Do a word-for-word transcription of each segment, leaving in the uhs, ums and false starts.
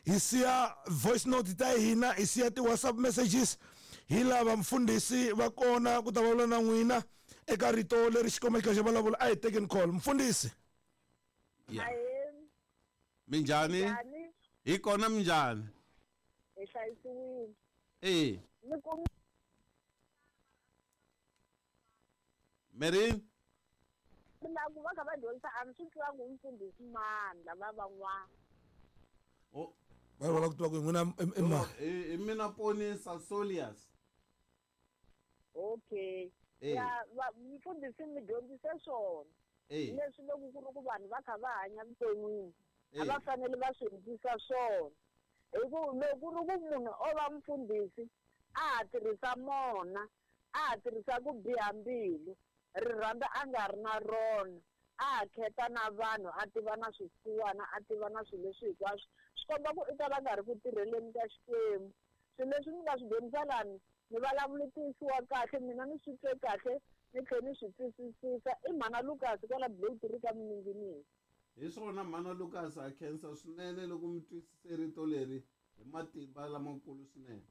Hi siya voice note ta hina, hi siya ti-WhatsApp messages. Hi lava mfundhisi va kona ku ta vulavula na n'wina eka rito leri Xikwembu xi kha xi vulavula. A hi tekeni call. Mfundhisi. Yeah. Minjhani? Hi kona minjhani? Hi hlayisiwile. Eh. Ni ku Mary? Mina ku va kha va dyondzisa a ni swi twangi mfundhisi mani lava van'wana. Oh. Va va ku tiva ku n'wina i mani? I mina Ponisa Solias. Okay. Ya va mfundhisi mi dyondzise swona. Leswi loko ku ri ku vanhu va kha va hanya vuton'wini a va fanele va swi endlisa swona. Hi ku loko ku ri ku munhu o va mfundhisi a ha tirhisa mona, a ha tirhisa ku biha mbilu, rirhandzu a nga ri na rona, a ha kheta na vanhu, a tiva na swisiwana, a tiva na swilo leswi hinkwaswo, swi komba ku i ta va nga ri ku tirheleni ka Xikwembu. Swilo leswi mi nga swi dyondzisa lani ni vulavulitisiwa kahle, mina ni swi twe kahle, ni tlhela ni swi twisisisa. I mhana Lucas kwala Blue ka Miningini. Hi swona mhana Lucas, a khensa swinene loko mi twisise rito leri hi matimba lamakulu swinene.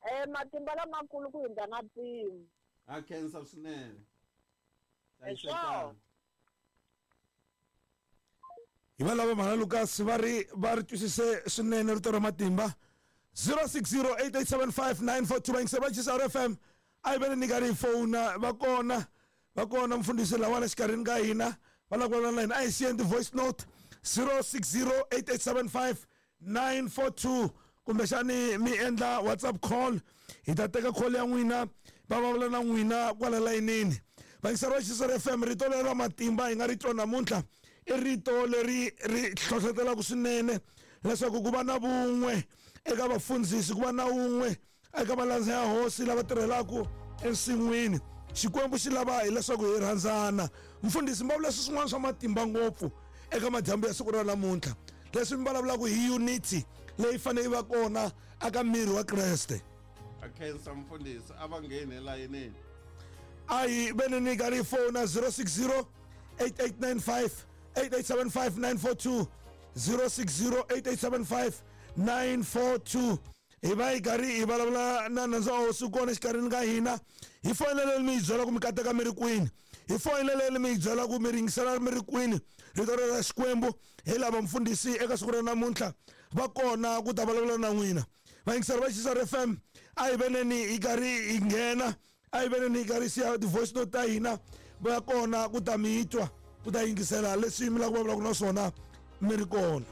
Eh matimba lamakulu ku hundza na mpimo. A khensa swinene. Hi va lava mhana Lucas va ri va ri twisise swinene rito ra matimba. zero six zero eight eight seven five nine four two va va G S R F M. A hi veni ni karhi hi fona va kona va kona mfundhisi lawana xikarhini ka hina va lava ku vulavula na hina. A hi siyeni ti-voice note zero six zero eight eight seven five nine four two kumbexani mi endla WhatsApp call, hi ta teka call ya n'wina va vulavula na n'wina kwala layinini. Vayingiseri va G S R F M, rito leri ra matimba hi nga ri twa namuntlha i rito leri ri hlohlotelaka swinene leswaku ku va na vun'we eka vafundzisi, ku va na wun'we eka malandza ya hosi lava tirhelaka ensin'wini. Xikwembu xi lava hileswaku hi rhandzana. Mfundhisi, mi vulavula swin'wana swa matimba ngopfu eka madyambu ya siku ra namuntlha, leswi mi vulavulaka hi unity leyi fanele yi va kona aka miri wa Kreste. A khensa mfundhisi, a va ngheni elayinini. A hi veni ni karhi hi fona zero six zero eight eight nine five eight eight seven five nine four two zero six zero eight eight seven five nine four two. Hi va hi karhi hi vulavula na nandza wa hosi kona exikarhini ka hina. Hi foyineleni mi hi byela ku mi kateka mi ri kwini, hi foyineleni mi hi byela ku mi ringisela mi ri kwini rito ra Xikwembu. Hi lava mfundhisi eka siku ra namuntlha va kona ku ta vulavula na n'wina. Vayingiseri va G S R F M, a hi veneni hi karhi hi nghena, a hi veneni hi karhi siya ti-voice note ta hina, va kona ku ta mi twa, ku ta yingisela leswi mi lava ku vulavulaka na swona mi ri kona.